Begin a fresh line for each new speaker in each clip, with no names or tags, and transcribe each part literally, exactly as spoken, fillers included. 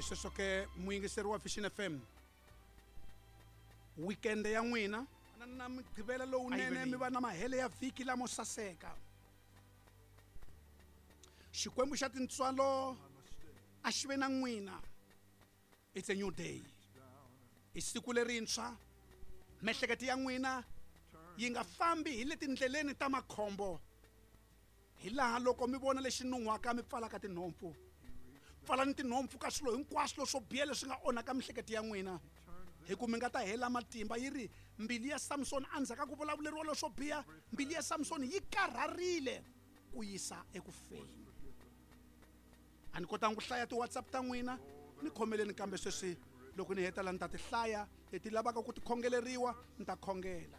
Hi sweswo ke, muyingiseri wa Vision F M, weekend ya n'wina na na Mugqivela lowunene, mi va na mahele ya vhiki lamo saseka. Xikwembu xa tintswalo a xi ve na n'wina. It's a new day, i siku lerintshwa. Miehleketo ya n'wina yi nga fambi hi le tindleleni ta makhombo, hi laha loko mi vona lexi nun'hwaka mi pfalaka tinhompfu. Pfalani tinhompfu ka swilo hinkwaswo swo biha leswi nga onhaka miehleketo ya n'wina, hi ku mi nga ta hela matimba. Yi ri mbilu ya Samsoni, endzhaku ka ku vulavuleriwa leswo biha, mbilu ya Samsoni yi karharile ku yisa eku feni. A ni kotanga ku hlaya ti-WhatsApp ta n'wina, ni khomeleni, kambe sweswi loko ni heta la ni ta ti hlaya. Leti lavaka ku ti khongeleriwa ni ta khongela,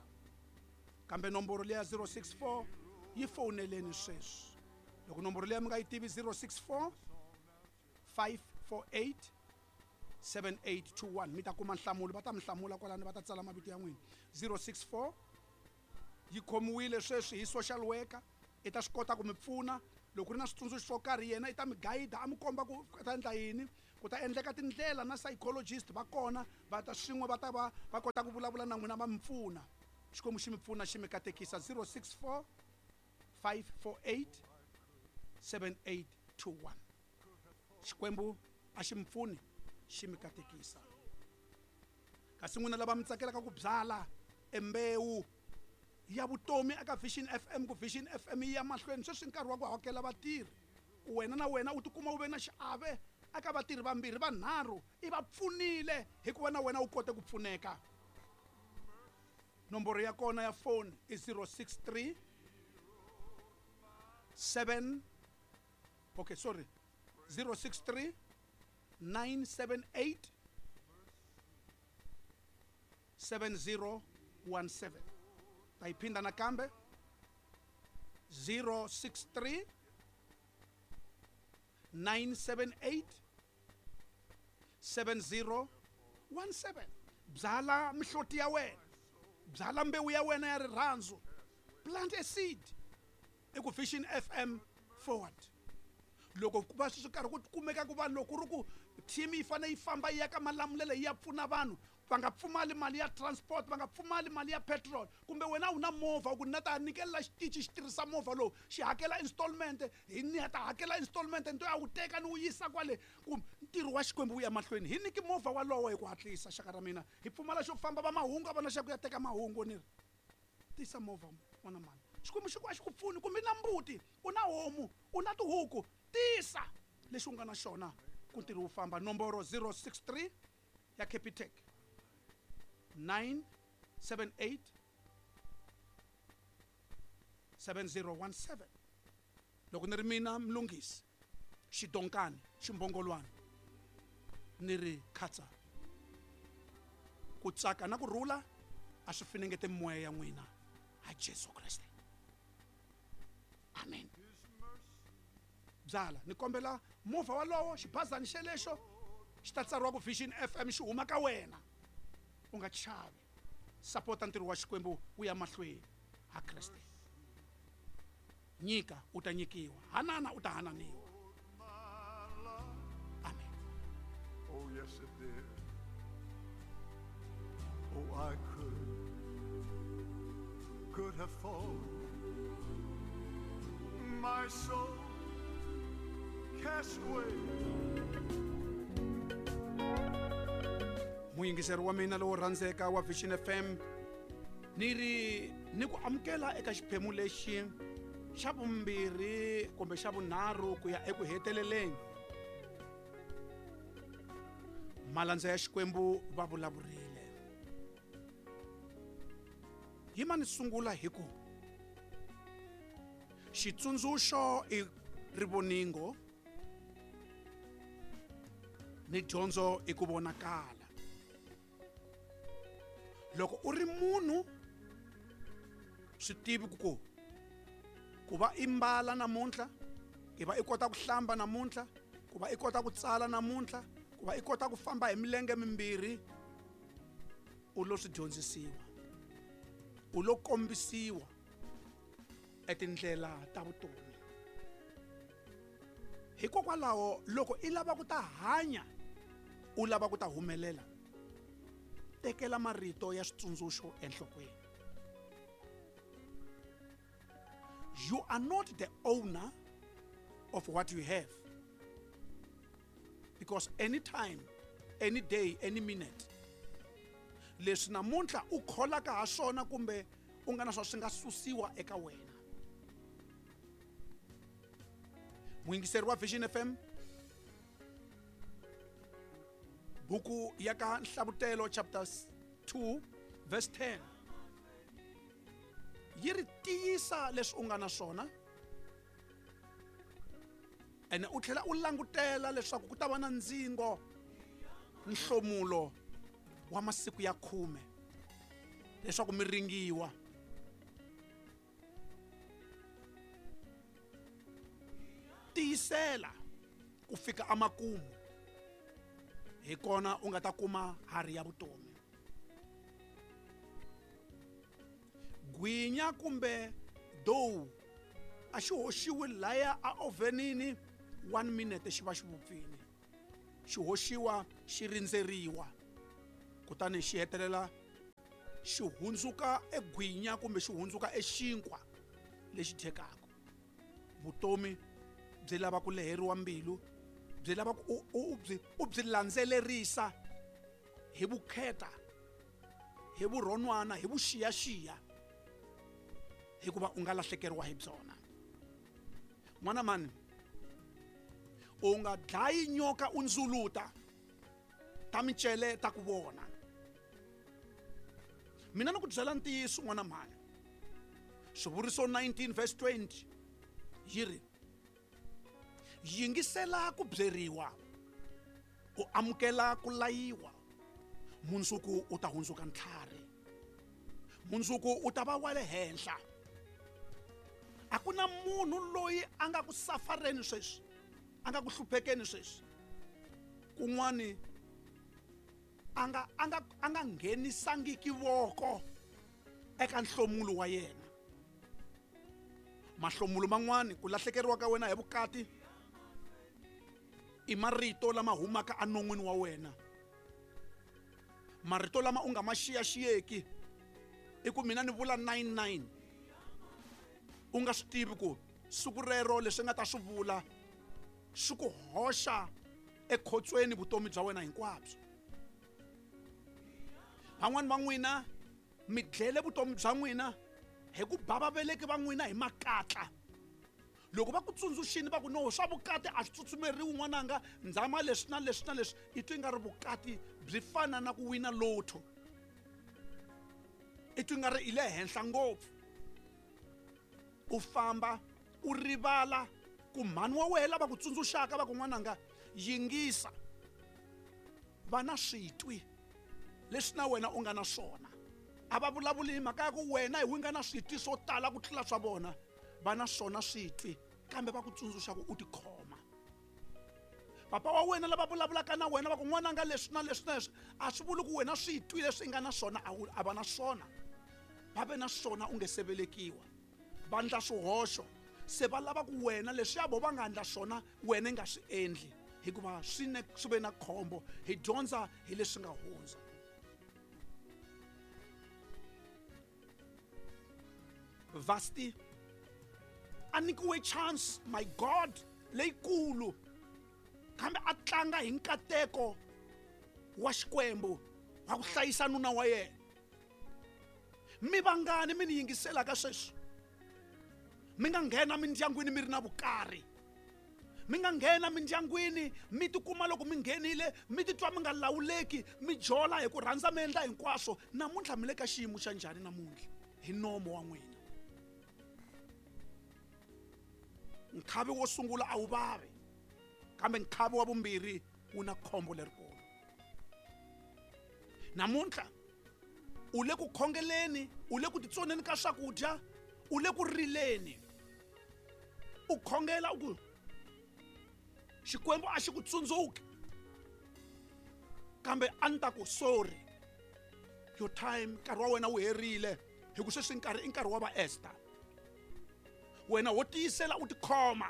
kambe nomboro leya zero six four yi fowuneleni sweswi. Loko nomboro leya mi nga yi tivi, zero six four five four eight seven eight two one, mi ta kuma nhlamulo. Va ta mi hlamula kwalano, va ta tsala mavito ya n'wina. zero six four yi khomiwile sweswi hi social worker, i ta swi kota ku mi pfuna loko ku ri na switsundzuxo swo karhi. Yena i ta mi gayida, a mi komba ku ta endla yini, ku ta endleka tindlela. Na psychologist va kona, va ta swin'we, va ta va va kota ku vulavula na n'wina, va mi pfuna. Xikwembu xi mi pfuna, xi mi katekisa. zero six four five four eight seven eight two one. Xikwembu a xi mi pfuni, xi mi katekisa. Kasi n'wina lava mi tsakelaka ku byala embewu ya vutomi eka Vision F M, ku Vision F M yi ya mahlweni, sweswi nkarhi wa ku hakela vatirhi, ku wena na wena u tikuma u ve na xiave eka vatirhi vambirhi vanharhu, i va pfunile hikuva na wena u kote ku pfuneka. Nomboro ya kona ya foni i zero six three seven, okay, sorry, zero six three nine seven eight seven zero one seven. Ta yi phinda nakambe: zero six three nine seven eight seven zero one seven. Byala mihloti ya wena, byala mbewu ya wena ya rirhandzu. Plant a seed eku Vision F M forward. Loko ku va swi karhi ku kumeka ku vanhu, loko ku ri ku team yi fanele yi famba yi ya ka Malamulele yi ya pfuna vanhu, va nga pfumali mali ya transport, va nga pfumali mali ya petrol, kumbe wena u na movha, ku na ta nyikelela xitichi xi tirhisa movha lowu, xi hakela installment, hi ni ya ta hakela installment, ni to ya wu teka ni wu yisa kwale ku ntirho wa Xikwembu wu ya mahlweni. Hi nyiki movha walowo hi ku hatlisa, xaka ra mina. Hi pfumala xo famba, va mahungu a va na xa ku ya teka mahungu. Ni ri tisa movha, n'wana mani. Xikwembu xi ku a xi ku pfuni. Kumbe na mbuti, u na homu, u na tihuku, tisa lexi u nga na xona ku ntirho wu famba. Nomboro zero six three ya Capitec, nine seven eight seven zero one seven. Loko ni ri mina Mlungisi Xidonkani Ximbongolwana, ni ri khatsa, ku tsaka na ku rhula a swi finengete mimoya ya n'wina ha Jesu Kreste. Amen. Byala, ni kombela movha walowo, xibazani xelexo xi ta tsariwa ku Vision F M, xi huma ka wena. U nga chavi, sapota ntirho wa Xikwembu wu ya mahlweni ha Kreste. Nyika, u ta nyikiwa; hanana, u ta hananiwa. Amen.
Oh, yes, it did. Oh, I could, could have fallen. My soul cast away.
Muyingiseri wa mina lowo rhandzeka wa Vision F M, ni ri ni ku amukela eka xiphemu lexi xa vumbirhi kumbe xa vunharhu ku ya eku heteleleni. Malandza ya Xikwembu va vulavurile. Yima ni sungula hi ku xitsundzuxo i rivoningo, ni dyondzo i ku vonakala. Loko u ri munhu, swi tivi ku ku ku va i mbala namuntlha, ku va i kota ku hlamba namuntlha, ku va i kota ku tsala namuntlha, ku va i kota ku famba hi milenge mimbirhi, u lo swi dyondzisiwa, u lo kombisiwa etindlela ta vutomi. Hikokwalaho loko i lava ku ta hanya U lava ku ta humelela, tekela marito ya switsundzuxo enhlokweni. You are not the owner of what you have, because anytime, any day, any minute, leswi namuntlha u kholaka ha swona kumbe u nga na swona swi nga susiwa eka wena. Muyingiseri wa Vision F M, buku ya ka Nhlavutelo chapter two verse ten yi ri tiyisa leswi u nga na swona, ene u tlhela u langutela leswaku ku ta va na ndzingo, nhlomulo wa masiku ya khume leswaku mi ringiwa. Tiyisela ku fika emakumu, hi kona u nga ta kuma harhi ya vutomi. Gwinya kumbe dough a xi hoxiwi laya a ovenini one minute xi va xi vupfile, xi hoxiwa xi rindzeriwa, kutani xi hetelela xi hundzuka egwinya kumbe xi hundzuka exinkwa lexi dyekaka. Vutomi byi lava ku leheriwa mbilu, byi lava ku u byi u byi landzelerisa hi vukheta, hi vurhonwana, hi vuxiyaxiya, hikuva u nga lahlekeriwa hi byona. N'wana mani, u nga dlayi nyoka u ndzuluta ta micele ta ku vona. Mina ni ku byela ntiyiso n'wana mhani, Swivuriso nineteen verse twenty yi ri, yingisela ku byeriwa, u amukela ku layiwa, mundzuku u ta hundzuka ntlhari, mundzuku u ta va wa le henhla. A ku na munhu loyi a nga ku safareni sweswi, a nga ku hluphekeni sweswi, kun'wani a nga a nga a nga nghenisangiki voko eka nhlomulo wa yena. Mahlomulo man'wani, ku lahlekeriwa ka wena hi vukati i marito lama humaka enon'wini wa wena, marito lama u nga ma xiyaxiyeki. I ku mina ni vula nine nine, u nga swi tivi ku siku rero leswi nga ta swi vula swi ku hoxa ekhotsweni vutomi bya wena hinkwabyo. Van'wani va n'wina mi dlele vutomi bya n'wina hi ku ba vaveleki va n'wina hi makatla. Loko va ku tsundzuxini va ku no, swa vukati a swi tsutsumeriwi n'wananga, ndzama leswi na leswi na leswi, i twi nga ri vukati byi fana na ku wina lotto, i twi nga ri i le henhla ngopfu. U famba u rivala ku mhani wa wena lava ku tsundzuxaka va ku n'wananga yingisa, va na switwi leswi na wena u nga na swona. A va vulavuli hi mhaka ya ku wena hi wu nga na switwi swo tala ku tlula swa vona, va na swona switwi, kambe va ku tsundzuxa ku u tikhoma. Papa wa wena lava vulavulaka na wena va ku n'wananga leswi na leswi na leswi, a swi vuli ku wena switwi leswi nga na swona a va na swona, va ve na swona u nge se velekiwa. Va ndla swihoxo, se va lava ku wena leswiya vo va nga ndla swona wena i nga swi endli, hikuva swi ne swi ve na khombo. Hi dyondza hi leswi nga hundza. Vasti a nyikiwe chance, my God, leyikulu, kambe a tlanga hi nkateko wa Xikwembu wa ku hlayisa nuna wa yena. Mi vangani mi ni yingiselaka sweswi, mi nga nghena mindyangwini mi ri na vukarhi, mi nga nghena mindyangwini mi tikuma loko mi nghenile mi titwa mi nga lawuleki, mi jola hi ku rhandza mi endla hinkwaswo. Namuntlha mi le ka xiyimo xa njhani namuntlha hi nomo wa n'wina? Nkhavi wo sungula a wu vavi, kambe nkhavi wa vumbirhi wu na khombo lerikulu. Namuntlha u le ku khongeleni, u le ku titsoneni ka swakudya, u le ku rileni, u khongela u ku Xikwembu a xi ku tsundzuki, kambe a ni ta ku sorry, your time, nkarhi wa wena wu herile, hi ku sweswi nkarhi i nkarhi wa va Esther. Wena wo tiyisela u tikhoma,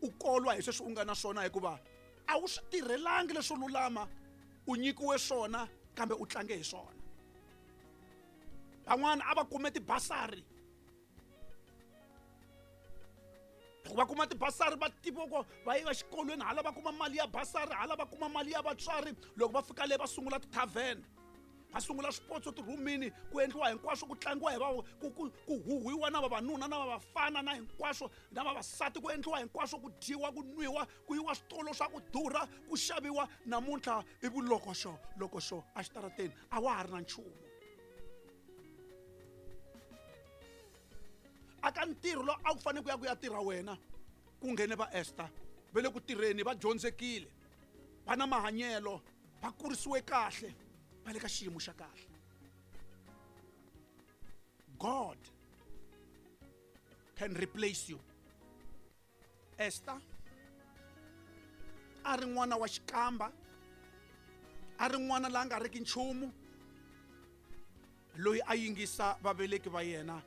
u kolwa hi sweswi u nga na swona, hikuva A wu swi tirhelangi leswo lulama, u nyikiwe swona kambe u tlange hi swona. Van'wana a va kume tibasari. Loko va kuma tibasari va tiva ku va yiva xikolweni, hala va kuma mali ya basari, hala va kuma mali ya vatswari. Loko va fika le va sungula ti-tavern, va sungula swipotso tirhumini, ku endliwa hinkwaswo, ku tlangiwa hi va ku ku ku huhwiwa na vavanuna na vavafana na hinkwaswo na vavasati, ku endliwa hinkwaswo, ku dyiwa, ku nwiwa, ku yiwa switolo swa ku durha, ku xaviwa. Namuntlha i vulokoxo lokoxo exitarateni, a wa ha ri na nchumu. Aka ntirho lowu a ku fanele ku ya ku ya tirha wena, ku nghene va Esther va le ku tirheni, va dyondzekile, va na mahanyelo, va kurisiwe kahle, va le ka xiyimo xa kahle. God can replace you. Esther a ri n'wana wa xikamba, a ri n'wana la nga riki nchumu, loyi a yingisa vaveleki va yena,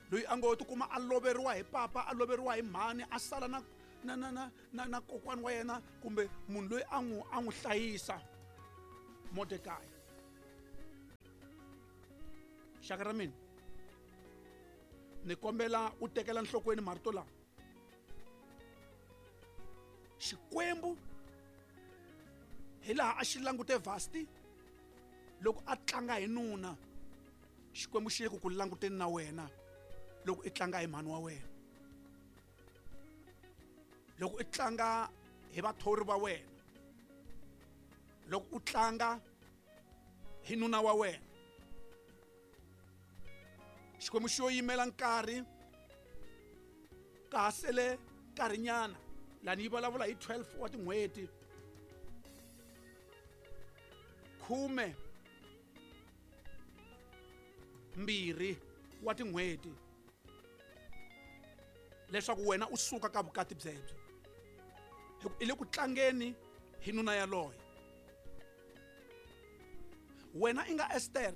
loyi a ngo tikuma a loveriwa hi papa, a loveriwa hi mhani, a sala na na na na na na kokwani wa yena kumbe munhu loyi a n'wi a n'wi hlayisa, Mordecai. Xaka ra mina, ni kombela u tekela nhlokweni marito lawa. Xikwembu hi laha a xi langute Vasti loko a tlanga hi nuna, Xikwembu xi le ku ku languteni na wena loko i tlanga hi mhani wa wena, loko i tlanga hi vathori va wena, loko u tlanga hi nuna wa wena. Xikwembu xi yo yimela nkarhi, ka ha sele nkarhinyana lani yi vulavula hi twelve wa tin'hweti, khume mbirhi wa tin'hweti, leswaku wena u suka ka vukati byebyo. I le ku tlangeni hi nuna yaloye. Wena i nga Esther,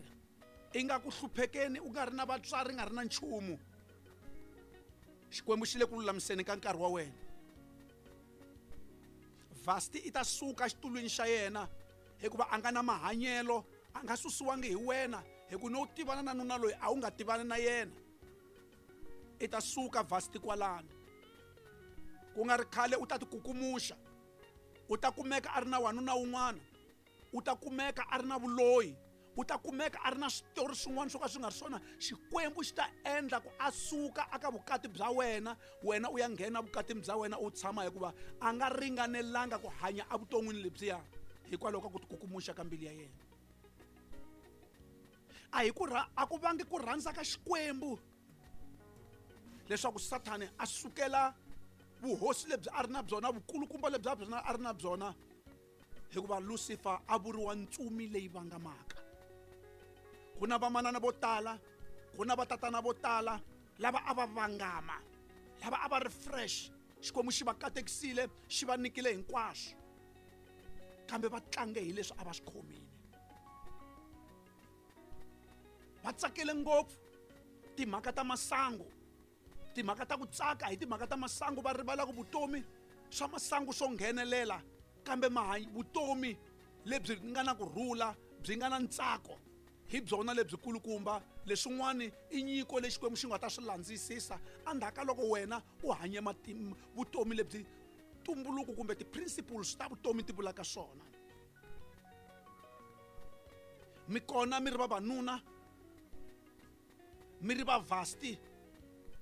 i nga ku hluphekeni, u nga ri na vatswari, nga ri na nchumu. Xikwembu xi le ku lulamiseni ka nkarhi wa wena. Vasti i ta suka xitulwini xa yena hikuva a nga na mahanyelo, a nga susiwangi hi wena, hi ku no tivana na nuna loyi a wu nga tivani na yena. I ta suka Vasti kwalano. Ku nga ri khale u ta tikukumuxa, u ta kumeka a ri na wanuna wun'wana, u ta kumeka a ri na vuloyi, u ta kumeka a ri na switori swin'wana swo ka swi nga ri swona. Xikwembu xi ta endla ku a suka aka vukati bya wena, wena u ya nghena vukatini bya wena u tshama, hikuva a nga ringanelanga ku hanya evuton'wini lebyiya hikwalaho ka ku tikukumuxa ka mbilu ya yena. A hi ku a ku vangi ku rhandza ka Xikwembu leswaku Sathane a sukela vuhosi lebyi a ri na byona, vukulukumba lebyi a byona a ri na byona, hikuva Lucifer a vuriwa ntsumi leyi vangamaka. Ku na vamanana vo tala, ku na vatatana vo tala lava a va vangama, lava a va ri fresh. Xikwembu xi va katekisile, xi va nyikile hinkwaswo, kambe va tlange hi leswi a va swi khomile. Va tsakele ngopfu timhaka ta masangu, timhaka ta ku tsaka hi timhaka ta masangu, va rivala ku vutomi swa masangu swo nghenelela, kambe vutomi lebyi nga na ku rhula, byi nga na ntsako, hi byona lebyi kulukumba. Leswin'wana i nyiko lexi Xikwembu xi nga ta swi landzisisa endzhaku ka loko wena u hanye vutomi lebyi tumbuluko kumbe ti-principles ta vutomi ti vulaka swona. Mi kona mi ri vavanuna, mi ri vavasti,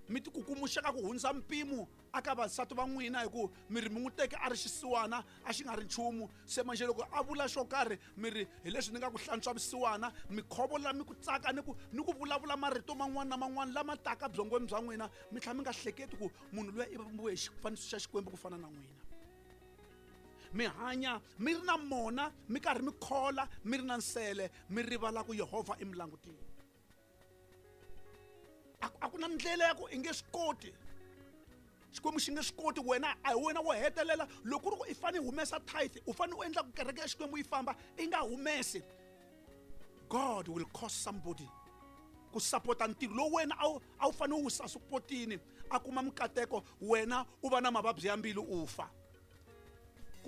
mi tikukumuxeka ku hundza mpimo aka vasati va n'wina, hi ku mi ri mi n'wi teke a ri xisiwana, a xi nga ri nchumu. Se manje loko a vula xo karhi mi ri hi leswi ni nga ku hlantswa vusiwana, mi khovola, mi ku tsaka ni ku ni ku vulavula marito man'wana na man'wana lama taka byongweni bya n'wina, mi tlhela mi nga hleketi ku munhu luya i vumbiwe hi xifaniso xa Xikwembu ku fana na n'wina. Mi hanya mi ri na mona, mi karhi mi khola, mi ri na nsele, mi rivala ku Yehovha i mi langutile. A ku na ndlela ya ku i nge swi koti. Xikwembu xi nge swi koti, wena a hi wena wo hetelela. Loko ku ri ku i fanele i humesa tithe, u fanele u endla ku kereke ya Xikwembu yi famba, i nga humesi, God will cause somebody ku sapota ntirho lowu wena a wu a wu fanele u wu sapotini, a kuma mikateko, wena u va na mavabyi ya mbilu u fa.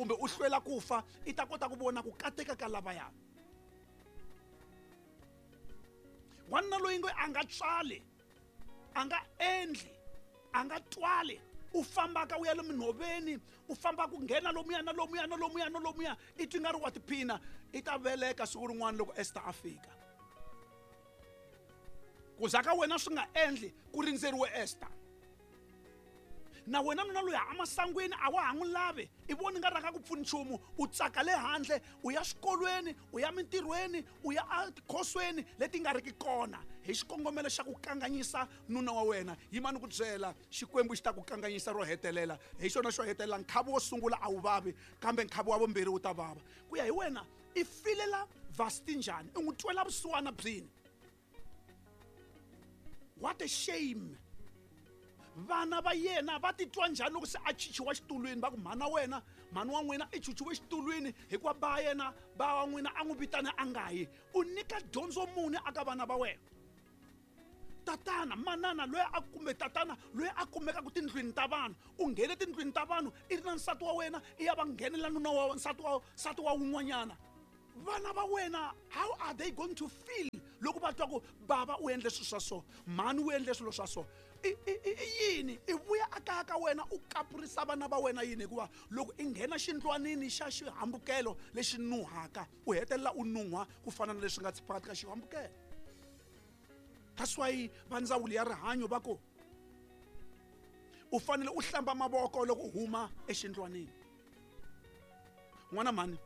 Kumbe u hlwela ku fa i ta kota ku vona ku kateka ka lavaya. Wanuna loyi ngo a nga tswali, a nga endli, a nga twali, u fambaka u ya lomu nhoveni, u famba ku nghena lomuya na lomuya na lomuya na lomuya, i twi nga ri wa tiphina, i ta veleka siku rin'wana loko Esther a fika. Ku za ka wena swi nga endli ku rindzeriwe Esther. Na wena nuna loyi emasangwini a wa ha n'wi lavi, i voni nga ri nga ku pfuni nchumu, u tsaka le handle, u ya swikolweni, u ya mintirhweni, u ya etikhosweni leti nga riki kona hi xikongomelo xa ku kanganyisa nuna wa wena. Yimani ku byela, Xikwembu xi ta ku kanganyisa ro hetelela. Hi xona xo hetelela, nkhavi wo sungula a wu vavi, kambe nkhavi wa vumbirhi wu ta vava. Ku ya hi wena, i filela Vasti njhani? I n'wi twela vusiwana byini? What a shame. Vana va yena va titwa njhani loko se a chichiwa xitulwini? Va ku mhana wena, mhani wa n'wina i chichiwe xitulwini hikuva ba yena, ba wa n'wina a n'wi vitana a nga yi. U nyika dyondzo muni aka vana va wena? Tatana, manana loyi a kumbe tatana loyi a kumekaka tindlwini ta vanhu, u nghene tindlwini ta vanhu i ri na nsati wa wena, i ya va nghenela nuna wa nsati wa nsati wa wun'wanyana. Vana va wena, how are they going to feel loko va twa ku bava u endle swilo swa so, mhani u endle swilo swa so? I yini? I vuya a kaya ka wena u kapurisa vana va wena yini? Hikuva loko i nghena xindlwanini xa xihambukelo lexi nuhaka, u hetelela u nuhwa ku fana na leswi nga phakathi ka xihambukelo. That's why va ndzawulo ya rihanyo va ku u fanele u hlamba mavoko loko u huma exindlwanini. N'wana mhani,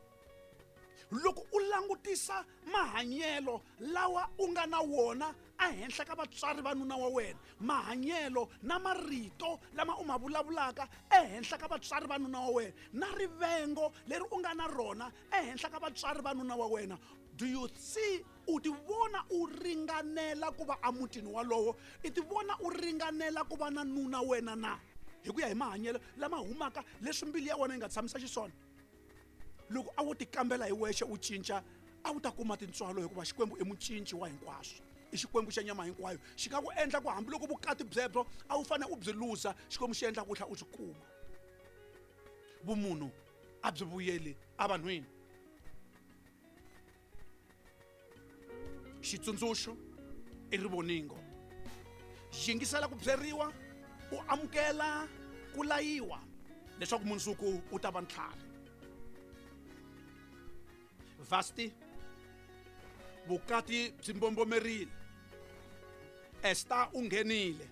loko u langutisa mahanyelo lawa u nga na wona ehenhla ka vatswari va nuna wa wena, mahanyelo na marito lama u ma vulavulaka ehenhla ka vatswari va nuna wa wena, na rivengo leri u nga na rona ehenhla ka vatswari va nuna wa wena, do you see u ti vona u ringanela ku va emutini walowo? I ti vona u ringanela ku va na nuna wena na? Hi ku ya hi mahanyelo lama humaka leswi mbilu ya wena yi nga tshamisa xiswona. Loko a wo tikambela hi wexe u cinca, a wu ta kuma tintswalo, hikuva Xikwembu i mucinci wa hinkwaswo. I Xikwembu xa nyama hinkwayo. Xi nga ku endla ku hambiloko vukati byebyo a wu fanele u byi luza, Xikwembu xi endla ku tlhela u byi kuma. Vumunhu a byi vuyeli evanhwini. Xitsundzuxo i rivoningo. Yingisela ku byeriwa, u amukela ku layiwa, leswaku mundzuku u ta va ntlhari. Vasti, vukati byi mbombomerile. Esther u nghenile.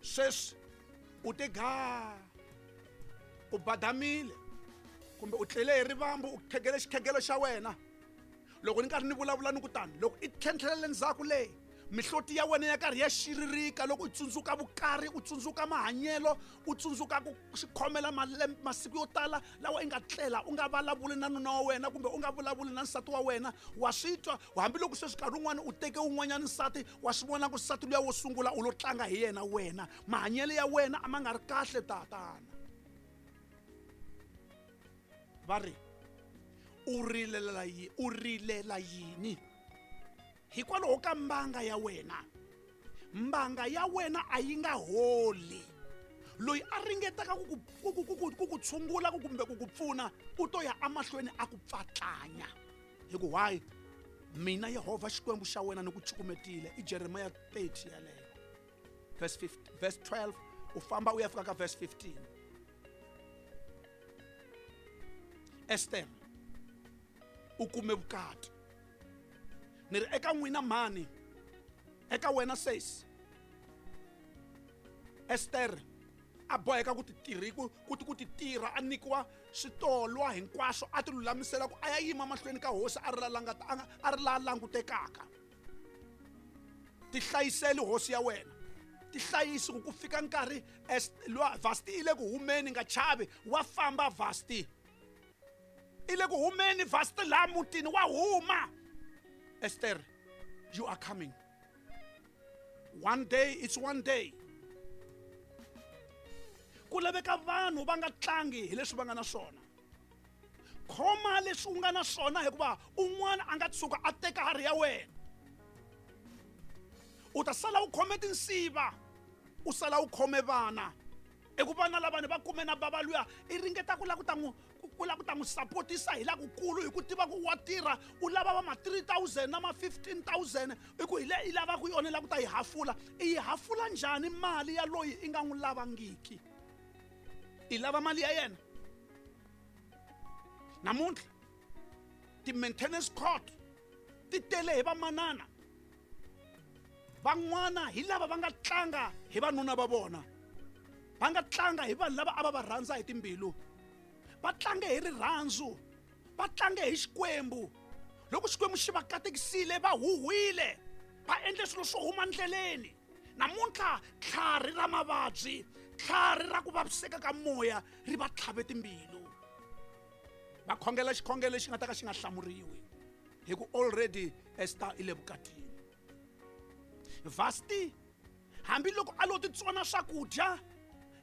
Sweswi u te ga, u badamile, kumbe u tlele hi rivambu, u khegele xikhegelo xa wena. Loko ni karhi ni vulavula ni ku tani, loko i tlhentlhelela ndzhaku leyi, mihloti ya wena ya karhi ya xiririka loko u tsundzuka vukari, u tsundzuka mahanyelo, u tsundzuka ku xikhomela masiku yo tala lawa i nga tlela u nga vulavuli na nuna wa wena kumbe u nga vulavuli na nsati wa wena. Wa swi twa hambiloko sweswi nkarhi wun'wani u teke wun'wanyana nsati, wa swi vona ku nsati luya wo sungula u lo tlanga hi yena wena. Mahanyelo ya wena a ma nga ri kahle tatana. Va ri u rilela yini? U rilela yini? Hikwalaho ka mbanga ya wena. Mbanga ya wena a yi nga holi. Loyi a ringetaka ku ku ku ku ku tshungula kumbe ku ku pfuna, u to ya emahlweni a ku pfatlanya. Hi ku why? Mina Yehovha Xikwembu xa wena ni ku cukumetile. I Jeremiah thirty yaleyo. Verse fifty, verse twelve, u famba u ya fika ka verse fifteen. Esther u kume vukati. Ni ri eka n'wina mhani, eka wena sesi, Esther a boheka ku ti tirhi ku ku ti tirha, a nyikiwa switolwa hinkwaswo, a ti lulamisela ku a ya yima mahlweni ka hosi a ri la a ri la langutekaka. Tihlayiseli hosi ya wena, tihlayisi ku ku fika nkarhi Vasti i le ku humeni, nga chavi, wa famba Vasti. I le ku humeni Vasti laha mutini, wa huma. Esther, you are coming. One day, it's one day. Ku laveka vanhu va nga tlangi hi leswi va nga na swona. Khoma leswi u nga na swona, hikuva un'wana a nga tshuka a teka harhi ya wena. U ta sala u khome tinsiva, u sala u khome vana. I ku vana lavani va kume na bava luya i ringeta ku lava ku ta n'wi ku lava ku ta n'wi sapotisa hi la kukulu hi ku tiva ku wa tirha u lava va ma three thousand na ma fifteen thousand i ku hi le i lavaka yona i lava ku ta yi hafula i yi hafula njhani mali ya loyi i nga n'wi lavangiki i lava mali ya yena namuntlha ti-maintenance court ti tele hi vamanana van'wana hi lava va nga tlanga hi vanuna va vona va nga tlanga hi vanhu lava a va va rhandza hi timbilu va tlange hi rirhandzu va tlange hi Xikwembu loko Xikwembu xi va katekisile va huhwile va endle swilo swo huma ndleleni namuntlha tlhari ra mavabyi tlhari ra ku vaviseka ka moya ri va tlhave timbilu va khongela xikhongelo lexi nga ta ka xi nga hlamuriwi hi ku already Esther i le vukatini Vasti hambiloko a lo titsona swakudya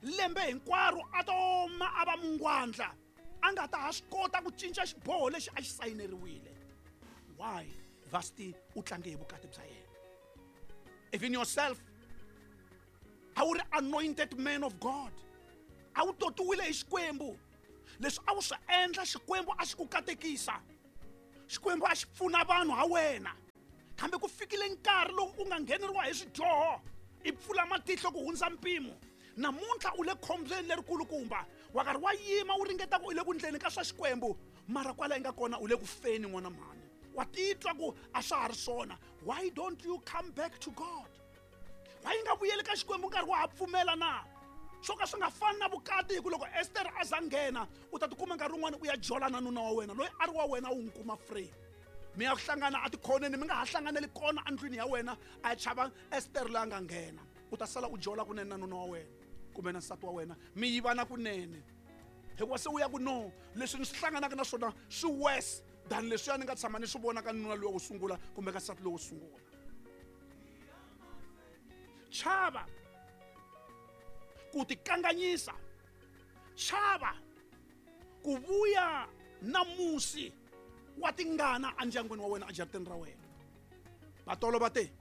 lembe hinkwaro a to ma a va mungwandla a nga ta ha swi kota ku cinca xiboho lexi a xi sayineriwile why Vasti u tlange hi vukati bya yena even yourself a wu ri anointed man of God a wu totiwile hi Xikwembu leswi a wu swi endla Xikwembu a xi ku katekisa Xikwembu a xi pfuna vanhu ha wena kambe ku fikile nkarhi lowu u nga ngheneriwa hi swidyoho i pfula matihlo ku hundza mpimo namuntlha u le khombyeni lerikulukumba wa karhi wa yima u ringeta ku u le ku ndleni ka swa Xikwembu mara kwala i nga kona u le ku feni n'wana mhani wa titwa ku a swa ha ri swona why don't you come back to God why nga vuyeli ka Xikwembu nkarhi wa ha pfumela na swo ka swi nga fani na vukati hi ku loko Esther a za nghena u ta tikuma nkarhi wun'wani u ya jola na nuna wa wena loyi a ri wa wena u n'wi kuma free mi ya ku hlangana atikhoneni mi nga ha hlanganeli kona endlwini ya wena a ya chava Esther loyi a nga nghena u ta sala u jola kunene na nuna wa wena kumbe na nsati wa wena mi yivana kunene hikuva se u ya ku no leswi ni swi hlanganaka na swona swi worse than leswiya ni nga tshama ni swi vona ka nuna luya wo sungula kumbe ka nsati lowo sungula chava ku tikanganyisa chava ku vuya na musi wa tingana endyangwini wa wena ejarateni ra wena vatolo va te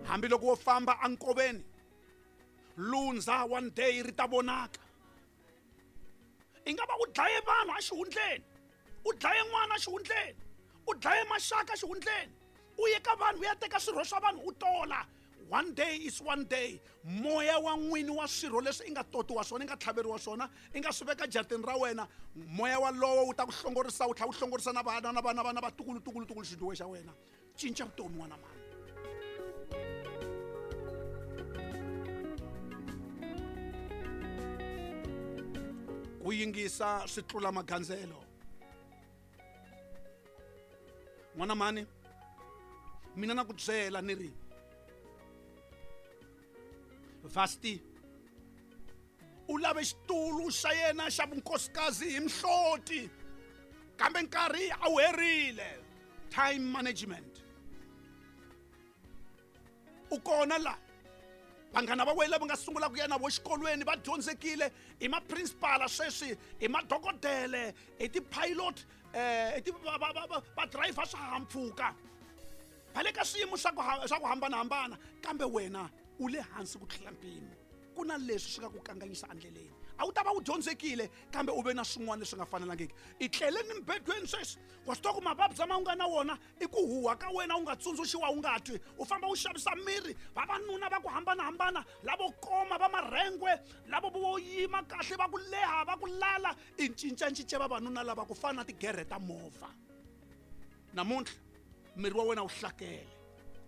hambiloko wo famba enkoveni lundza one day ri ta vonaka i nga va u dlaye vanhu exihundleni u dlaye n'wana exihundleni u dlaye maxaka exihundleni u ye ka vanhu u ya teka swirho swa vanhu u tola one day is one day moya wa n'wini wa swirho leswi i nga totiwa swona i nga tlhaveriwa swona i nga swi veka jarateni ra wena moya walowo wu ta ku hlongorisa wu tlhela wu hlongorisa na vana na vana vana vatukulu tukulu tukulu xidyoho xa wena cinca vutomi n'wana mhani ku yingisa swi tlula magandzelo n'wana mhani mina na ku byela ni ri Vasti u lave xitulu xa yena xa vunkosikazi hi mihloti kambe nkarhi a wu herile time management u kona la vanghana va wena lava nga sungula ku ya na vo xikolweni va dyondzekile i ma-principala sweswi i madokodele i ti-pilot um i ti va driver swihahampfhuka va le ka swiyimo swa ku swa ku hambanahambana kambe wena u le hansi ku tlula mpimo ku na leswi swi nga ku kanganyisa endleleni a wu ta va u dyondzekile kambe u ve na swin'wana leswi nga fanelangiki i tlele ni mbedweni sweswi wa swi tiva ku mavabyi lama u nga na wona i ku huha ka wena u nga tsundzuxiwa u nga twi u famba u xavisa miri vavanuna va ku hambanahambana lavo koma va marhengwe lavo vo yima kahle va ku leha va ku lala i cincacince vavanuna lava ku fana na tigere ta movha namuntlha miri wa wena wu hlakele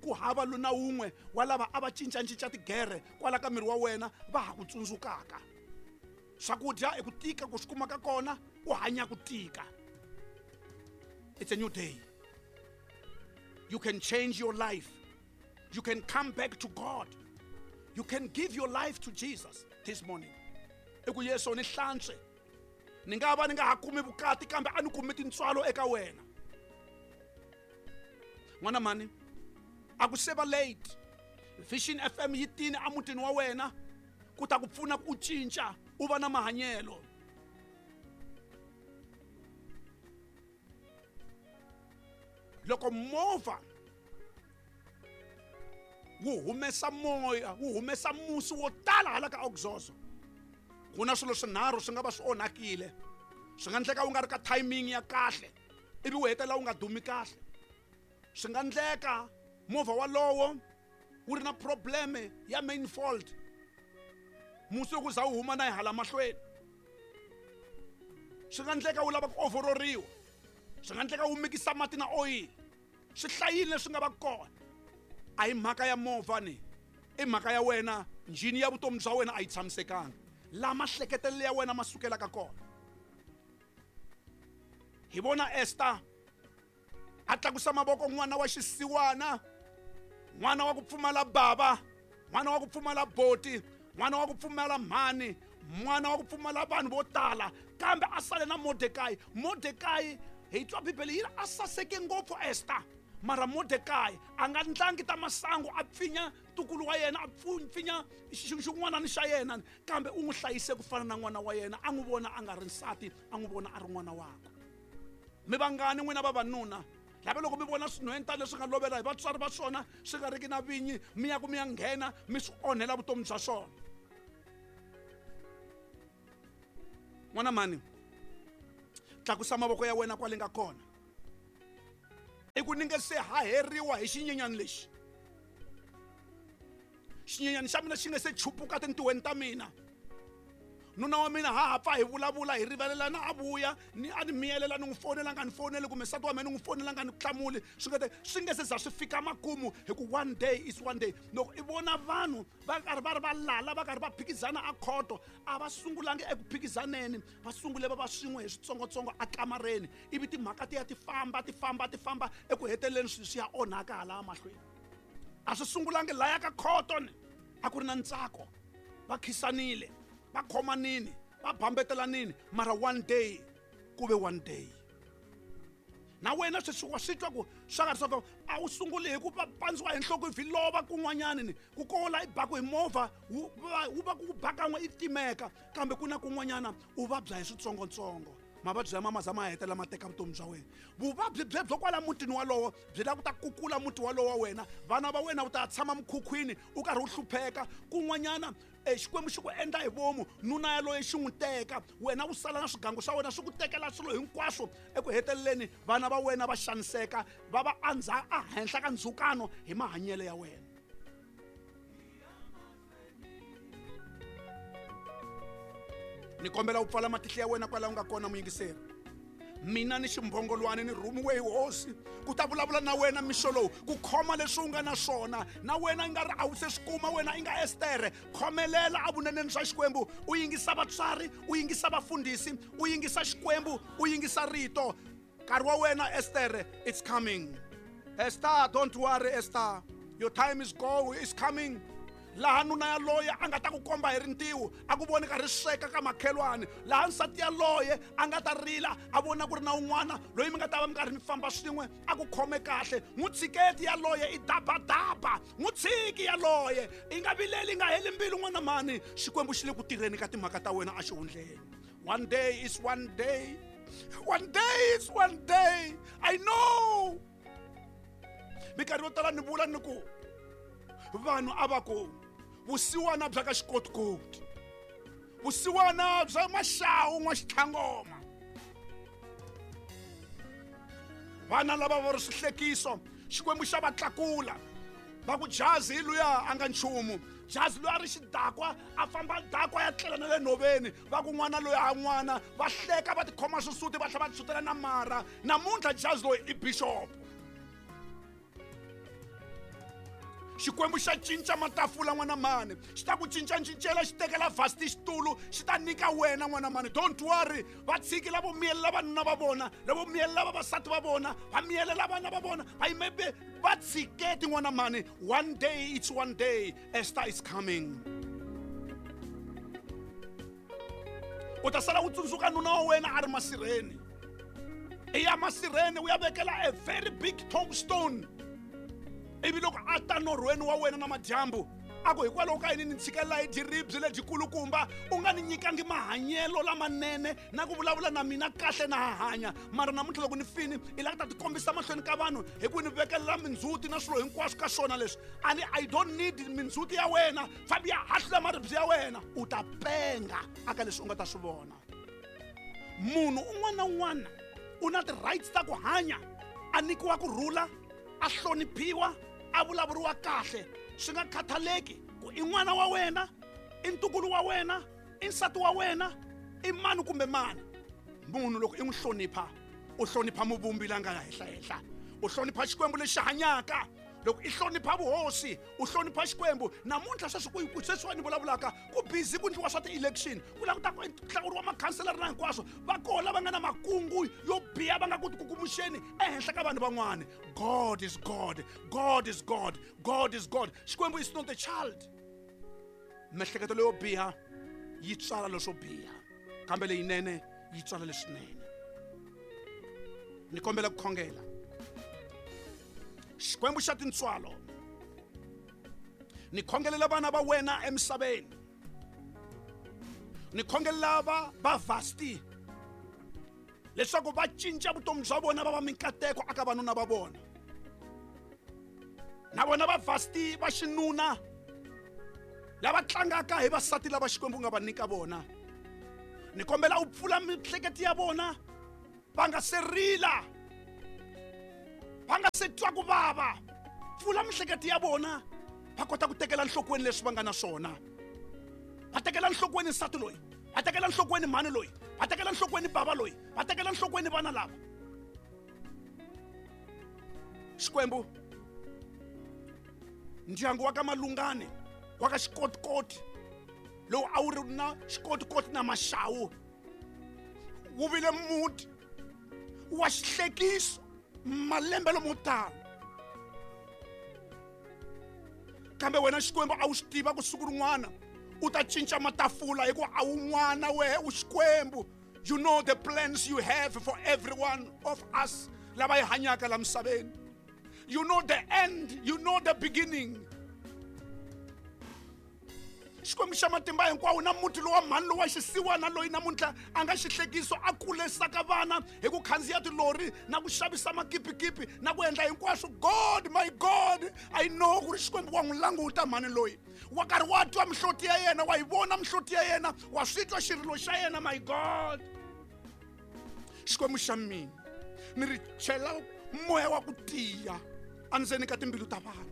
ku hava luna wun'we wa lava a va cincacinca tigere kwala ka miri wa wena va ha ku tsundzukaka swakudya i ku tika ku swi kuma ka kona u hanya ku tika it's a new day you can change your life you can come back to God you can give your life to Jesus this morning i ku Yesu ni hlantswe ni nga va ni nga ha kumi vukati kambe a ni kumi tintswalo eka wena n'wana mhani a ku se va late Vision F M yi tini emutini wa wena ku ta ku pfuna ku cinca u va na mahanyelo loko movha wu humesa moya, wu humesa musi wo tala hala ka exhaust. Ku na swilo swinharhu swi nga va swi onhakile. Swi nga endleka u nga ri ka timing ya kahle, ivi u hetelela u nga dumi kahle. Swi nga endleka movha walowo wu ri na problem ya main fault, musi ku za wu huma na hi hala mahlweni. Swi nga endleka wu lava ku overoriwa, swi nga endleka wu mikisa mati na oyili. Swi hlayile leswi nga va kona. A hi mhaka ya movha ni, i mhaka ya wena. Njhini ya vutomi bya wena a yi tshamisekanga, laha mahleketelelo ya wena ma sukelaka kona. Hi vona Esther a tlakusa mavoko, n'wana wa xisiwana, n'wana wa ku pfumala bava, n'wana wa ku pfumala boti, n'wana wa ku pfumala mhani, n'wana wa ku pfumala vanhu vo tala, kambe a sale na Mordekai. Mordekai hi twa Bibele yi ri a saseke ngopfu Esther, mara Mordekai a nga ndlangi ta masangu, a pfinya ntukulu wa yena, a pfinya xin'wanani xa yena, kambe u n'wi hlayise ku fana na n'wana wa yena. A n'wi vona a nga ri nsati, a n'wi vona a ri n'wana wakwe. Mi vangani n'wina vavanuna lava loko mi vona swinhwenta leswi nga lovela hi vatswari va swona swi nga riki na vinyi, mi ya ku mi ya nghena mi swi onhela vutomi bya swona? N'wana mhani, tlakusa mavoko ya wena kwale nga kona. I ku ni nge se haheriwa hi xinyenyani lexi. Xinyenyani xa mina xi nge se chupuka tintiweni ta mina. Nuna wa mina ha ha pfa hi vulavula, hi rivalelana, a vuya ni a ni miyelela, ni n'wi fonela nga ni foneli, kumbe nsati wa mina ni n'wi fonela nga ni hlamuli. Swi nga swi nge se za swi fika makumu, hi ku one day is one day. Loko i vona vanhu va karhi va ri va lala, va karhi va phikizana a khoto, a va sungulangi eku phikizaneni, va sungule va va swin'we hi switsongotsongo akamareni, ivi timhaka ti ya ti famba ti famba ti famba, eku heteleleni swilo swi ya onhaka hala mahlweni. A swi sungulangi laya ka khoto ni, a ku ri na ntsako, va khisanile, va khomanini, va bambetelanini, mara one day ku ve one day. Na wena sweswi wa swi twa ku swa nga ri swa a wu sunguli hi ku va pandziwa hi nhloko hi lova kun'wanyani ni ku kola i baku hi movha wu va ku ba kan'we i timeka, kambe ku na kun'wanyana u vabya hi switsongotsongo. Mavabyi ya mamaza ma hetelela ma teka vutomi bya wena. Vuvabyi byebyo kwala mutini walowo byi lava ku ta kukula muti walowo wa wena, vana va wena u ta tshama mukhukhwini u karhi u hlupheka. Kun'wanyana Xikwembu xi ku endla hi vomu, nuna yaloye xi n'wi teka, wena u sala na swigangu swa wena swi ku tekela swilo hinkwaswo. Eku heteleleni vana va wena va xaniseka, va va andza ehenhla ka ndzhukano hi mahanyelo ya wena. Ni kombela u pfala matihlo ya wena kwalaho u nga kona, muyingiseri. Mina ni ximbhongolwani ni rhumiwe hi hosi ku ta vulavula na wena mixo lowu, ku khoma leswi u nga na swona. Na wena i nga ri a wu se swi kuma, wena i nga Estere, khomelela evuneneni bya Xikwembu, u yingisa vatswari, u yingisa vafundhisi, u yingisa Xikwembu, u yingisa rito. Nkarhi wa wena Estere, it's coming. Esther, don't worry Esther, your time is go is coming. Laha nuna yaloye a nga ta ku komba hi rintiwo, a ku voni karhi sweka ka makhelwani. Laha nsati yaloye a nga ta rila, a vona ku ri na un'wana loyi mi nga ta va mi karhi mi famba swin'we, a ku khome kahle. N'wi tshiketi yaloye i dabadaba, n'wi tshiki yaloye, i nga vileli, i nga heli mbilu n'wana mhani. Xikwembu xi le ku tirheni ka timhaka ta wena a xihundleni. One day is one day, one day is one day. I know. Minkarhi yo tala ni vula ni ku vanhu a va ku vusiwana bya ka xikotikoti, vusiwana bya maxawu n'waxitlhangoma. Vana lava va ri swihlekiso, Xikwembu xa va tlakula, va ku jazi hi luya a nga nchumu, jazi luya a ri xidakwa, a famba dakwa ya tlela na le nhoveni. Va ku n'wana loyi a n'wana, va hleka, va tikhoma swisuti, va tlhela va tshutela na mara. Namuntlha jazi loyi i bishop. Xikwembu xa cinca matafula n'wana mhani, xi ta ku cincacincela, xi tekela vhasti xitulu, xi ta nyika wena n'wana mhani. Don't worry, va tshiki lavo miyelela vanuna va vona, lavo miyelela vavasati va vona, va miyelela vana va vona, va yime va tshiketi n'wana mhani. One day it's one day, Esther is coming. U ta sala u tsundzuka nuna wa wena a ri masirheni. I ya masirheni u ya vekela a very big tombstone. Ivi loko a ta norhweni wa wena na madyambu, A ku hikwalaho ka yini ni tshikelela hi diribyi lebyikulukumba u nga ni nyikangi mahanyelo lamanene na ku vulavula na mina kahle na ha hanya mara namuntlha loko ni fini i lava ku ta tikombisa mahlweni ka vanhu hi ku ni vekelela mindzhuti na swilo hinkwaswo ka swona leswi a ni I don't need mindzhuti ya wena fambi ya hahlula maribye ya wena u ta penga aka leswi u nga ta swi vona munhu un'wana na un'wana u na ti-rights ta ku hanya a nyikiwa ku rhula a hloniphiwa a vulavuriwa kahle swi nga khathaleki ku i n'wana wa wena i ntukulu wa wena i nsati wa wena i mani kumbe mani munhu loko i n'wi hlonipha u hlonipha muvumbi la nga henhlahenhla u hlonipha xikwembu lexi hanyaka loko i hlonipha vuhosi u hlonipha xikwembu namuntlha sweswi ku sweswiwa ni vulavulaka ku busy ku endliwa swa ti-election ku lava ku ta ku hlawuriwa makhanselara na hinkwaswo va kona lava nga na makungu yo biha va nga ku tikukumuxeni ehenhla ka vanhu van'wani. God is God, God is God, God is God. Xikwembu is not a child. Miehleketo leyo biha yi tswala leswo biha kambe leyinene yi tswala leswinene. Ni kombela ku khongela. Xikwembu xa tintswalo ni khongelela vana va wena emisaveni ni khongelela va va Vasti leswaku va cinca vutomi bya vona va va minkateko aka vanuna va vona na vona va Vasti va xinuna lava tlangaka hi vasati lava Xikwembu nga va nyika vona ni kombela u pfula miehleketo ya vona va nga se rila va nga se twa ku vava pfula miehleketo ya vona va kota ku tekela nhlokweni leswi va nga na swona va tekela nhlokweni nsati loyi va tekela nhlokweni mhani loyi va tekela nhlokweni bava loyi va tekela nhlokweni vana lava. Xikwembu ndyangu wa ka Malungane wa ka Xikotikoti lowu a wu ri na Xikotikoti na Maxawu wu vile muti wa xihlekiso malembe lomo tala kambe wena Xikwembu a wu swi tiva ku siku rin'wana u ta cinca matafula hikuva a wu n'wana wehe u Xikwembu. You know the plans you have for every one of us lava hi hanyaka la misaveni. You know the end, you know the beginning. Xikwembu xa matimba hinkwawo na muti lowa mhani lowa xisiwana loyi namuntlha a nga xihlekiso a kulesaka vana hi ku khandziya tilori na ku xavisa makipikipi na ku endla hinkwaswo. God, my God, I know ku ri Xikwembu wa n'wi languta mhani loyi wa karhi wa twa mihloti ya yena wa yi vona mihloti ya yena wa swi twa xirilo xa yena. My God, Xikwembu xa mina ni ri chela moya wa ku tiya endzeni ka timbilu ta vanhu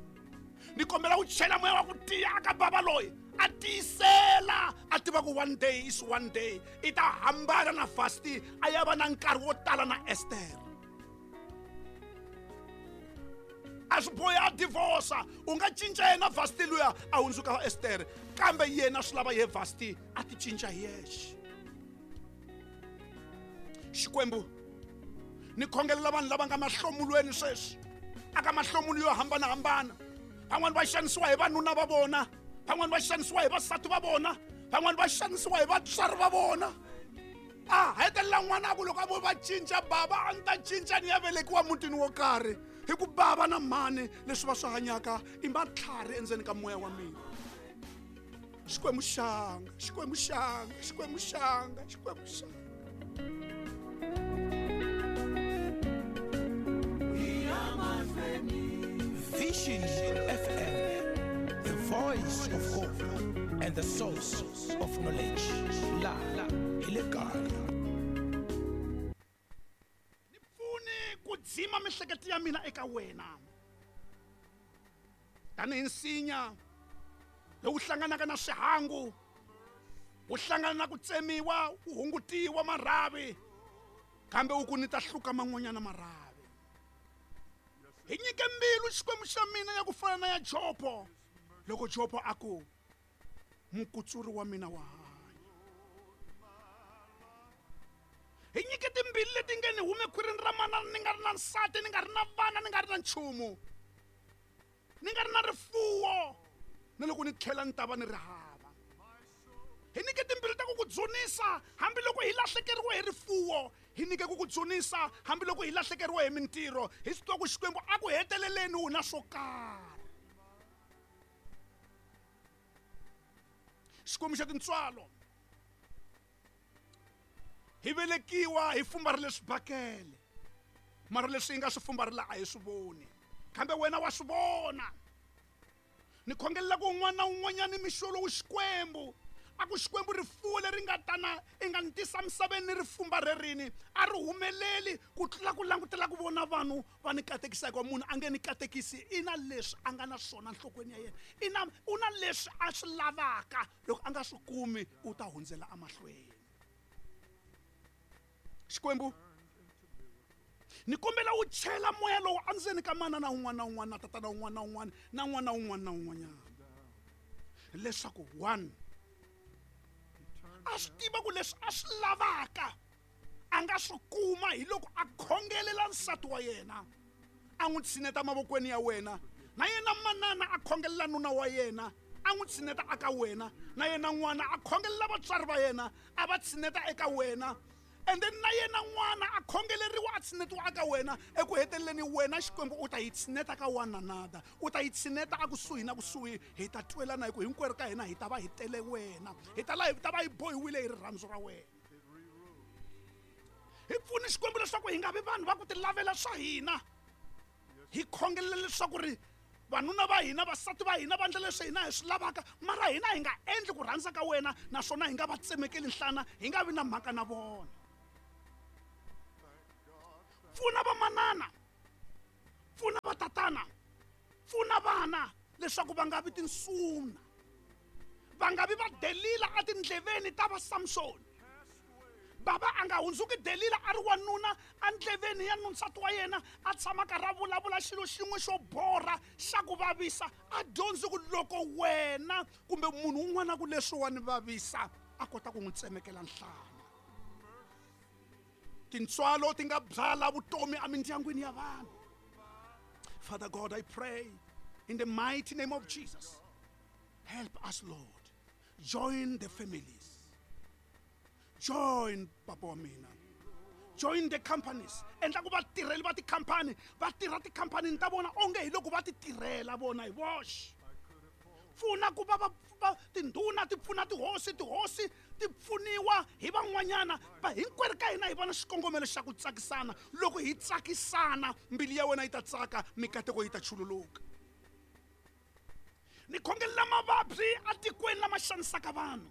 ni kombela u chela moya wa ku tiya ka bava loyi a tiyisela a tiva ku one day is one day i ta hambana na Vasti a ya va na nkarhi wo tala na Ester. A swi bohi a divorce u nga cinca yena Vasti luya a hundzuka Ester kambe yena swi lava ye Vasti a ti cinca hi yexe. Xikwembu ni khongelela vanhu lava nga mahlomulweni sweswi aka mahlomulo yo hambanahambana van'wani va xanisiwa hi vanuna va vona van'wani va xanisiwa hi vasati va vona van'wani va xanisiwa hi vatswari va vona a hetelela n'wana a ku loko a vo va cinca bava a ni ta cinca ni ya velekiwa mutini wo karhi hi ku bava na mhani leswi va swi hanyaka i matlhari endzeni ka moya wa mina. Xikwembu xanga, Xikwembu xanga, Xikwembu xanga, Xikwembu xanga.
Vision F M, the voice of hope and the source of knowledge. La Ilekaya.
Ni pfuni ku dzima miehleketo ya mina eka wena tanihi nsinya lowu hlanganaka na swihangu wu hlangana na ku tsemiwa wu hungutiwa marhavi kambe u ku ni ta hluka man'wanyana marhavi. Hi nyike mbilu Xikwembu xa mina ya ku fana na ya Jopo loko Jopo a ku mukutsuri wa mina wa hanya. Hi nyike timbilu leti nge ni hume khwirini ra manana ni nga ri na nsati ni nga ri na vana ni nga ri na nchumu ni nga ri na rifuwo na loko ni tlhela ni ta va ni ri hava. Hi nyike timbilu ta ku ku dzunisa hambiloko hi lahlekeriwe hi rifuwo hi nyike ku ku dzunisa hambiloko hi lahlekeriwe hi mintirho hi swi twa ku Xikwembu a ku heteleleni u na swo karhi. Xikwembu xa tintswalo hi velekiwa hi fumbarile swibakele mara leswi hi nga swi fumbarila a hi swi voni kambe wena wa swi vona ni khongelela ku un'wana na un'wanyana mixo lowu Xikwembu a ku Xikwembu rifuwo leri nga tana i nga ni tisa misaveni ni ri fumbarerini a ri humeleli ku tlula ku langutela ku vona vanhu va ni katekisa hikuva munhu a nge ni katekisi i na leswi a nga na swona nhlokweni ya yena i na u na leswi a swi lavaka loko a nga swi kumi u ta hundzela emahlweni. Xikwembu ni kombela u chela moya lowu endzeni ka manana un'wana na un'wana na tatana un'wana na un'wana na n'wana un'wana na un'wanyana leswaku one a swi tiva ku leswi a swi lavaka a nga swi kuma hi loko a khongelela nsati wa yena a n'wi tshineta mavokweni ya wena na yena manana a khongelela nuna wa yena a n'wi tshineta aka wena na yena n'wana a khongelela vatswari va yena a va tshineta eka wena and then na yena n'wana a khongeleriwa a tshinetiwa aka wena eku heteleleni wena Xikwembu u ta yi tshineta ka one another u ta yi tshineta a kusuhi na kusuhi hi ta twelana hi ku hinkwerhu ka hina hi ta va hi tele wena hi ta la hi ta va hi bohiwile hi rirhandzu ra wena. Hi pfuni Xikwembu leswaku hi nga vi vanhu va ku ti lavela swa hina hi khongelela leswaku ri vanuna va hina vasati va hina va endla leswi hina hi swi lavaka mara hina hi nga endli ku rhandza ka wena naswona hi nga va tsemekeli nhlana hi nga vi na mhaka na vona. Pfuna vamanana pfuna vatatana pfuna vana leswaku va nga vi tinsuna va nga vi va Delila etindleveni ta va Samsoni. Baba a nga hundzuki Delila a ri wanuna endleveni ya nsati wa yena a tshama karhi a vulavula xilo xin'we xo borha xa ku vavisa a dyondzi ku loko wena kumbe munhu un'wana ku leswiwani vavisa a kota ku n'wi tsemekela nhlana. Tintswalo ti nga byala vutomi emindyangwini ya vanhu. Father God, I pray in the mighty name of Jesus, help us, Lord. Join the families. Join papa wa mina. Join the companies. Endla ku vatirheli va tikhampani va tirha tikhampanini ta vona onge hi loko va ti tirhela vona hi voxe. Pfuna ku va va tindhuna ti pfuna tihosi tihosi ti pfuniwa hi van'wanyana va hinkwerhu ka hina hi vona xikongomelo xa ku tsakisana loko hi tsakisana mbilu ya wena yi ta tsaka mikateko yi ta chululuka. Ni khongelela mavabyi etikweni lama xanisaka vanhu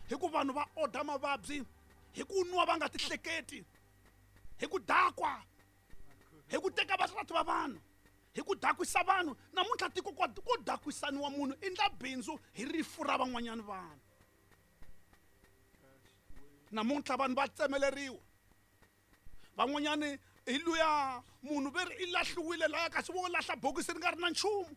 hi ku vanhu va order mavabyi hi ku nwa va nga tihleketi hi ku dakwa hi ku teka vasati va vanhu hi ku dakwisa vanhu namuntlha tiko ko dakwisaniwa munhu i ndla bindzu hi rifu ra van'wanyana vanhu. Namuntlha vanhu va tsemeleriwa van'wanyani hi luya munhu ve ri i lahliwile laya kasi vo lahla bokisi ri nga ri na nchumu.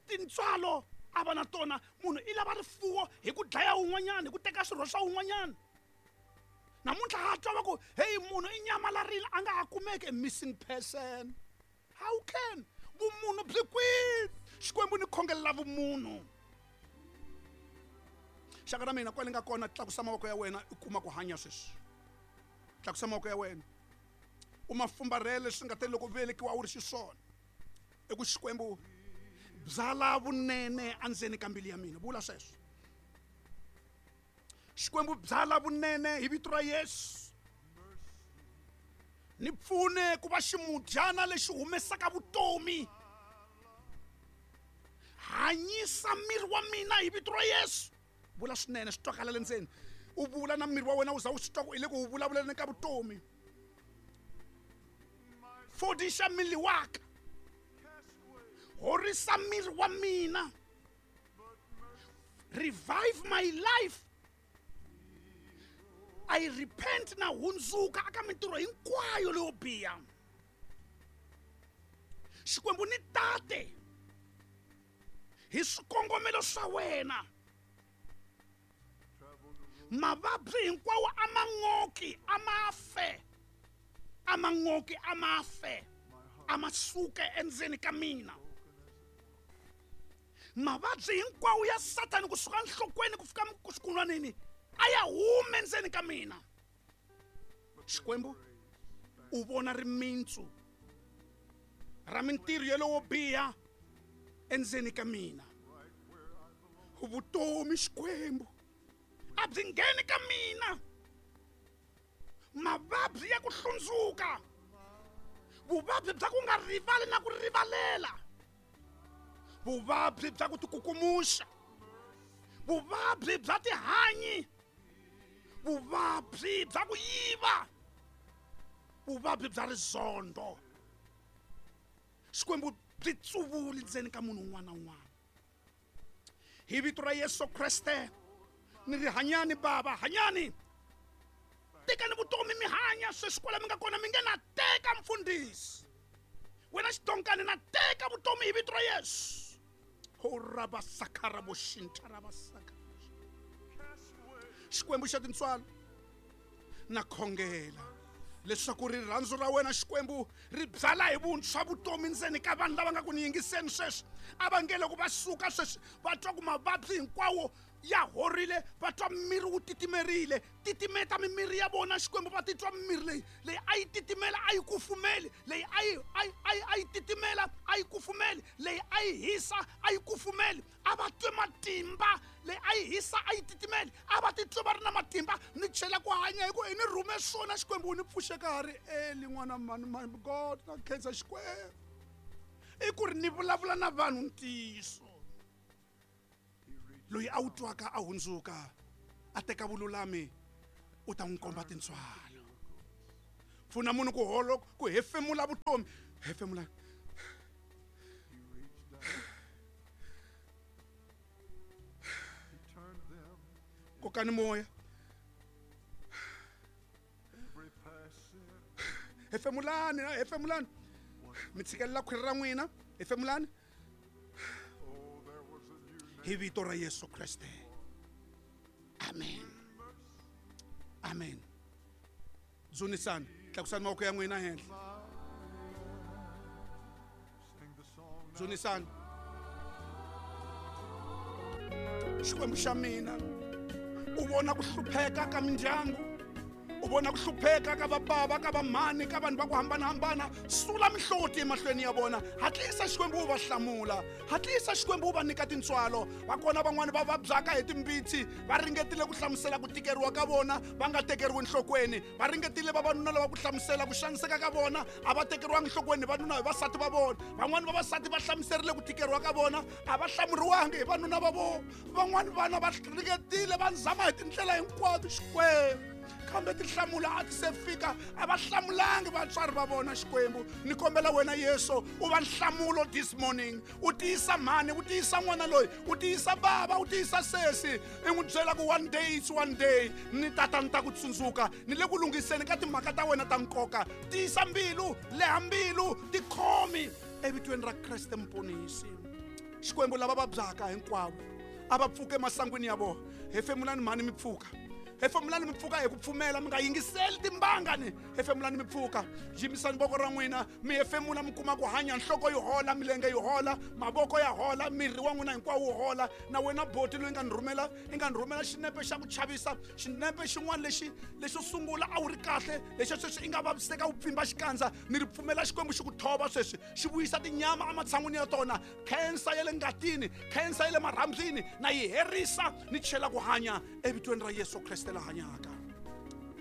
Tintswalo a va na tona munhu i lava rifuwo hi ku dlaya un'wanyana hi ku teka swirho swa un'wanyana. Namuntlha ha twa va ku hey munhu i nyamalarile a nga ha kumeki a missing person. How can vumunhu byi kwihi? Xikwembu ni khongelela vumunhu. Xaka ra mina kwale nga kona tlakusa mavoko ya wena i kuma ku hanya sweswi. Tlakusa mavoko ya wena u ma fumbarhele swi nga teli loko velekiwa a wu ri xiswona i ku Xikwembu byala vunene endzeni ka mbilu ya mina. Vula sweswo. Xikwembu byala vunene hi vito ra Yesu ni pfune ku va ximudyana lexi humesaka vutomi. Hanyisa miri wa mina hi vito ra Yesu. Vula swinene swi twakala le ndzeni u vula na miri wa wena u za u swi twa ku i le ku wu vulavuleni ka vutomi. Fodisa mili waka horisa miri wa mina. Revive my life. I repent na hundzuka aka mintirho hinkwayo leyo biha. Xikwembu ni tate hi swikongomelo swa wena. Mavabyi hinkwawo a ma n'oki a ma fe a ma n'oki a ma fe a ma suke endzeni ka mina. Mavabyi hinkwawo ya Satani kusuka nhlokweni ku fika xikunwanini a ya hume endzeni ka mina. Xikwembu u vona rimintsu ra mintirho yeleyo biha endzeni ka mina. Ku vutomi Xikwembu a byi ngheni ka mina. Mavabyi ya ku hlundzuka, vuvabyi bya ku nga rivali na ku rivalela, vuvabyi bya ku tikukumuxa, vuvabyi bya tihanyi, vuvabyi bya ku yiva, vuvabyi bya rizondo. Xikwembu byi tsuvuli ndzeni ka munhu un'wana na un'wana. Hi vito ra Yesu Kreste ni ri hanyani baba, hanyani. Tekani vutomi mi hanya sweswi kwala mi nga kona, mi nge na teka mfundhisi. Wena xidonkani na teka vutomi hi vito ra Yesu. Ho rabasaka raboshinta rabasaka. Xikwembu xa tintswalo na khongela leswaku rirhandzu ra wena Xikwembu ri byala hi vuntshwa vutomi ndzeni ka vanhu lava nga ku ni yingiseni sweswi. A va nge loko va suka sweswi va twa ku mavabyi hinkwawo ya horile, va twa miri wu titimerile. Titimeta mimiri ya vona Xikwembu, va titwa mimiri leyi leyi a yi titimela a yi kufumeli, leyi a yi a yi a yi a yi titimela a yi kufumeli, leyi a yi hisa a yi kufumeli. A va twe matimba, leyi a yi hisa a yi titimeli, a va titwe va ri na matimba. Ni chela ku hanya hi ku i ni rhume swona Xikwembu, u ni pfuxe ka ha ri eli n'wana mani mani. God na khensa Xikwembu i ku ri ni vulavula na vanhu ntiyiso. Loyi a wu twaka a hundzuka a teka vululami u ta n'wi komba tintswalo. Pfuna munhu ku holo ku hefemula vutomi, hefemula. Kokani moya, hefemulani, hefemulani, mi tshikelela khwiri ra n'wina, hefemulani. Hi vito ra Yesu Kreste. Amen. Amen. Dzunisani, tlakusani mavoko ya n'wina henhla. Dzunisani. Xikwembu xa mina, u vona ku hlupheka ka mindyangu, u vona ku hlupheka ka vabava, ka vamhani, ka vanhu va ku hambanahambana. Sula mihloti emahlweni ya vona. Hatlisa Xikwembu u va hlamula, hatlisa Xikwembu u va nyika tintswalo. Va kona van'wani va vabyaka hi timbitsi, va ringetile ku hlamusela ku tikeriwa ka vona, va nga tekeriwi enhlokweni. Va ringetile vavanuna lava ku hlamusela ku xaniseka ka vona, a va tekeriwangi enhlokweni hi vanuna hi vasati va vona. Van'wani vavasati va hlamuserile ku tikeriwa ka vona, a va hlamuriwangi hi vanuna va vona. Van'wani vana va ringetile va zama hi tindlela hinkwato Xikwembu, kambe tinhlamulo a ti se fika, a va hlamulangi vatswari va vona Xikwembu. Ni kombela wena Yesu u va nhlamulo this morning. U tiyisa mhani, u tiyisa n'wana loyi, u tiyisa bava, u tiyisa sesi. I n'wi byela ku one day it's one day, ni tata ni ta ku tsundzuka, ni le ku lunghiseni ka timhaka ta wena ta nkoka. Tiyisa mbilu, leha mbilu, tikhomi evitweni ra Kreste Muponisi. Xikwembu lava vabyaka hinkwavo a va pfuke emasangwini ya vona. Hefemulani mhani mi pfuka, hefemulani mi pfuka hi ku pfumela, mi nga yingiseli timbanga ni. Hefemulani mi pfuka, yimisani voko ra n'wina mi hefemula, mi kuma ku hanya. Nhloko yi hola, milenge yi hola, mavoko ya hola, miri wa n'wina hinkwawo wu hola. Na wena boti loyi nga ni rhumela, i nga ni rhumela xinepe xa ku chavisa, xinepe xin'wana lexi lexo sungula a wu ri kahle, lexo sweswi i nga vaviseka wu pfimba xikandza. Ni ri pfumela Xikwembu xi ku thova sweswi, xi vuyisa tinyama ematshan'wini ya tona. Khensa ya le ngatini, khensa ya le marhambyini, na yi herisa ni chela ku hanya evitweni ra Yesu Kreste la hanyaka.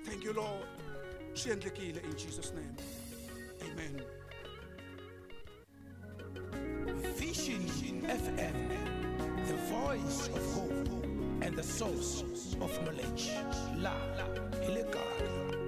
Thank you Lord. Swi endlekile in Jesus name. Amen.
Vision F M, the voice of hope and the source of knowledge. La, Ilekaya.